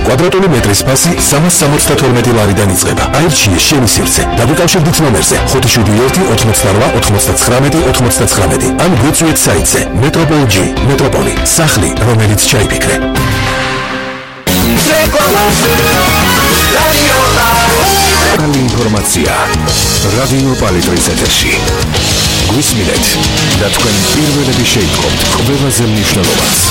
კვადრატული მეტრის ფასი 372 ლარიდან იწყება. აირჩიე შენი სივრცე. დაგუკავშირდით ნომერზე 571-99-99 ან გვიწვიეთ საიტზე Metropol G. Metropoli. სახლი, რომელიც ჩაიფიქრე. Καλή ინფორმაცია. რადიო პალიტრის ეთერში. გვისმინეთ და თქვენ პირველები შეიტყობთ ყველაზე მნიშვნელოვანს.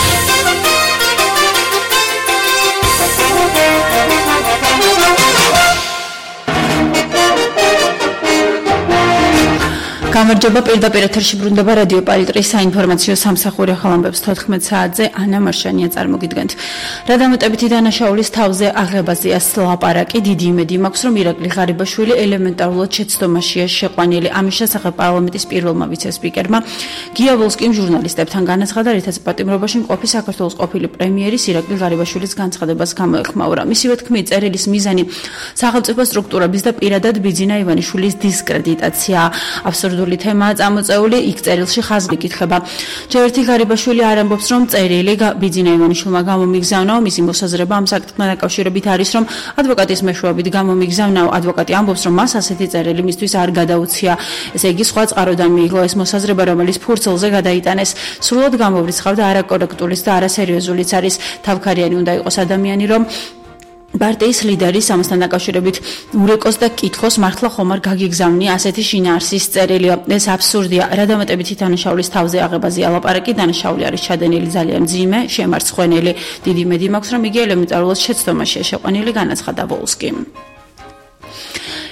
გამარჯობა, პირდაპირ ეთერში ბრუნდება რადიო პალიტრის საინფორმაციო სამსახური ხალხებს 14 საათზე ანა მარშანია წარმოგიდგენთ. რა დამატებითი დანაშაულის თავზე აღებაზეა ლაპარაკი, დიდი იმედი მაქვს, რომ ირაკლი ღარიბაშვილი ელემენტარულად შეცდომაშია შეყვანილი. ამის შესახებ პარლამენტის პირველმა ვიცე-სპიკერმა გია ვოლსკიმ ჟურნალისტებთან განაცხადა, რითაც პატიმრობაში მყოფი საქართველოს ყოფილი პრემიერის ირაკლი ღარიბაშვილის განცხადებას გამოეხმაურა. მისივე თქმით, წერილის მიზანი სახელმწიფო სტრუქტურების და პირადად ბიძინა ივანიშვილის დისკრედიტაცია. აბსურდული თემაა წამოწეული, იქ წერილში ხაზი იკითხება. ჯერ ერთი ღარიბაშვილი არ ამბობს, რომ წერილი ბიძინა ივანიშვილმა გამომიგზავნა, მისი მოსაზრება ამ საკითხთან დაკავშირებით არის, რომ ადვოკატის მეშვეობით გამომიგზავნა. ადვოკატი ამბობს, რომ მას ასეთი წერილი მისთვის არ გადაუცია. ესე იგი, სხვა წყაროდან მიიღო ეს მოსაზრება, რომელიც ფურცელზე გადაიტანეს. სრულად გამოვრიცხავდა არაკორექტულის და არასერიოზულიც არის. თავქარიანი უნდა იყოს ადამიანი, რომ პარტიის ლიდერის ამასთან დაკავშირებით ურეკოს და კითხოს მართლა ხომ არ გაგიგზავნია ასეთი შინაარსის წერილი. ეს აბსურდია. რა დამატებითი დანაშაულის თავზე აღებაზეა ლაპარაკი, დანაშაული არის ჩადენილი ძალიან მძიმე, შემარცხვენელი. დიდი იმედი მაქვს, რომ იგი ელემენტარულად შეცდომაშია შეყვანილი, განაცხადა ვოლსკიმ.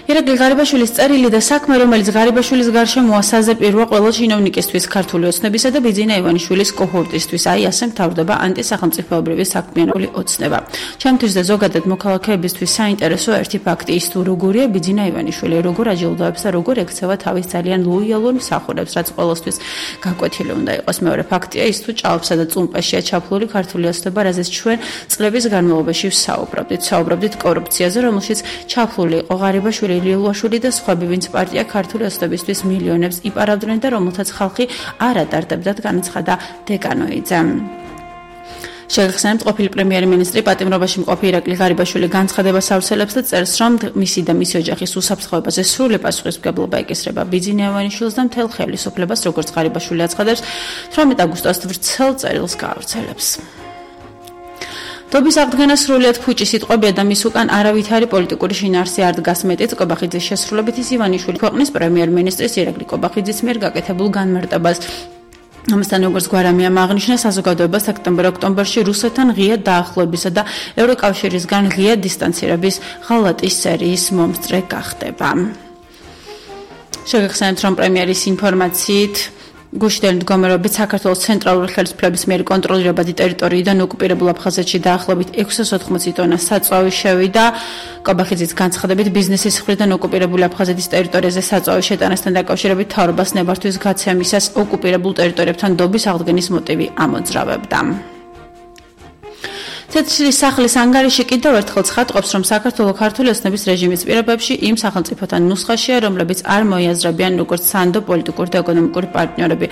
ირაკლი ღარიბაშვილის წერილი და საქმე, რომელიც ღარიბაშვილის გარშემოა საზეპიროა ყველა ჩინოვნიკისთვის, ქართული ოცნებისა და ბიძინა ივანიშვილის კოჰორტისთვის. აი ასე მთავრდება ანტისახელმწიფოებრივი საქმიანობრივი ოცნება. ჩემთვის და ზოგადად მოქალაქეებისთვის საინტერესო ერთი ფაქტი ის, თუ როგორია ბიძინა ივანიშვილი, როგორ აჯილდოებს და როგორ ექცევა თავის ძალიან ლოიალურ მსახურებს, რაც ყოველთვის გაკვეთილი უნდა იყოს. მეორე ფაქტია ის, თუ ჭაობსა და წუმპაშია ჩაფლული ქართული ოცნება, რაზეც ჩვენ წლების განმავლობაში ვსაუბრობდით კორუფციაზე, რომელშიც ჩაფლული იყო ღარიბაშვილი, ლიელუაშვილი და სხვები, ვინც პარტია ქართული ოცნებისთვის მილიონებს იპარავდნენ და რომელთაც ხალხი არ ატარდებდათ, განაცხადა დეკანოიძე. შეგახსენებთ, ყოფილი პრემიერ-მინისტრი პატიმრობაში მყოფი ირაკლი ღარიბაშვილი განცხადებას ავრცელებს და წერს, რომ მისი და მისი ოჯახის უსაფრთხოებაზე სრული პასუხისმგებლობა ეკისრება ბიძინა ივანიშვილს და მთელ ხელისუფლებას, როგორც ღარიბაშვილი აცხადებს, 18 აგვისტოს ვრცელ წერილს გაავრცელებს. დობის აღდგენა სრულიად ფუჭი სიტყვებია და მის უკან არავითარი პოლიტიკური შინაარსი არ დგას. მეტიც ყობახიძის შესრულებით ის ივანიშვილი ქვეყნის პრემიერ-მინისტრის ირაკლი ყობახიძის მიერ გაკეთებულ განმარტებას. ამასთან როგორც გვარამიამ აღნიშნა, საზოგადოება სექტემბერ-ოქტომბერში რუსეთთან ღია დაახლოებისა და ევროკავშირისგან ღია დისტანცირების ღალატის სერიის მომსწრე გახდება. შეგახსენებთ, რომ პრემიერის ინფორმაციით გუშინდელი მდგომარეობით საქართველოს ცენტრალური ხელისუფლების მიერ კონტროლირებადი ტერიტორიიდან ოკუპირებულ აფხაზეთში დაახლოებით 680 ტონა საწვავი შევიდა. ყობახიძის განცხადებით, ბიზნესის მხრიდან ოკუპირებული აფხაზეთის ტერიტორიაზე საწვავის შეტანასთან დაკავშირებით მთავრობას ნებართვის გაცემისას ოკუპირებულ ტერიტორიებთან დობის აღდგენის მოტივი ამოძრავებდა. თეთრი სახლის ანგარიში კიდევ ერთხელ ცხადყოფს, რომ საქართველოს ქართული ოცნების რეჟიმის პირობებში იმ სახელმწიფოთან ნუსხაშია, რომლებიც არ მოიაზრებიან როგორც სანდო პოლიტიკური და ეკონომიკური პარტნიორები.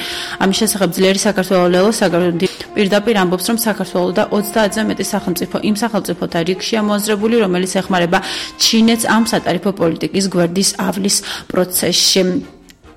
ამის შესახებ ძლიერი საქართველოს ლელო საგარეო პირდაპირ ამბობს, რომ საქართველოს და 30-ზე მეტი სახელმწიფო იმ სახელმწიფოთა რიგშია მოაზრებული, რომელიც ეხმარება ჩინეთს ამ სატარიფო პოლიტიკის გვერდის ავლის პროცესში.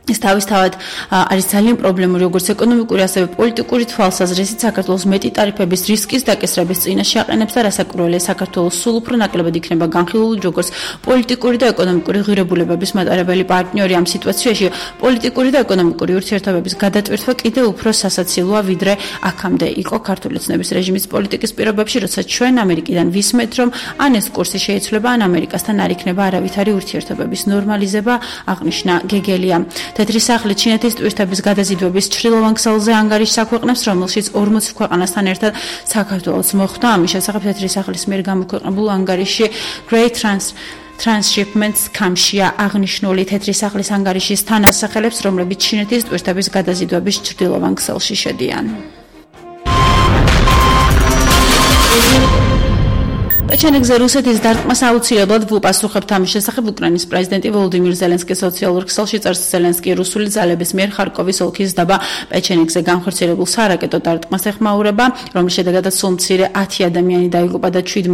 ეს თავისთავად არის ძალიან პრობლემური, როგორც ეკონომიკური, ასევე პოლიტიკური თვალსაზრისით. საქართველოს მეტი ტარიფების რისკის დაკისრების წინაშე აყენებს და რასაკვირველია, საქართველოს სულ უფრო ნაკლებად იქნება განხილული, როგორც პოლიტიკური და ეკონომიკური ღირებულებების მატარებელი პარტნიორი. ამ სიტუაციაში პოლიტიკური და ეკონომიკური ურთიერთობების გადატვირთვა კიდევ უფრო სასაცილოა, ვიდრე აქამდე იყო ქართული ოცნების რეჟიმის პოლიტიკის პირობებში, როცა ჩვენ ამერიკიდან ვისმენთ, რომ ან ეს კურსი შეიცვლება, ან ამერიკასთან არ იქნება არავითარი ურთიერთობების ნორმალიზება, აღნიშნა გეგელია. თეთრი სახლი ჩინეთის ტურისტების გადაზიდვების ჩრდილოვან ქსელზე ანგარიშს აქვეყნებს, რომელშიც 40 ქვეყანასთან ერთად საქართველოს მოხვდა. ამის შესახებ თეთრი სახლის მიერ გამოქვეყნებულ ანგარიში Great Transshipments Camp-შია აღნიშნული. თეთრი სახლის ანგარიშის თანასახელებს, რომლებიც ჩინეთის ტურისტების გადაზიდვების ჩრდილოვან ქსელში შედიან. პეჩენეგზე რუსეთის დარტყმას აუცილებლად ვუპასუხებთ. ამის შესახებ უკრაინის პრეზიდენტი ვოლოდიმირ ზელენსკის სოციალურ ქსელში წერს, ზელენსკი რუსული ძალების მიერ ხარკოვის ოლქის დაბა პეჩენეგზე განხორციელებულ სარაკეტო დარტყმას ეხმაურება, რომლის შედეგადაც სულ მცირე 10 ადამიანი დაიღუპა და 17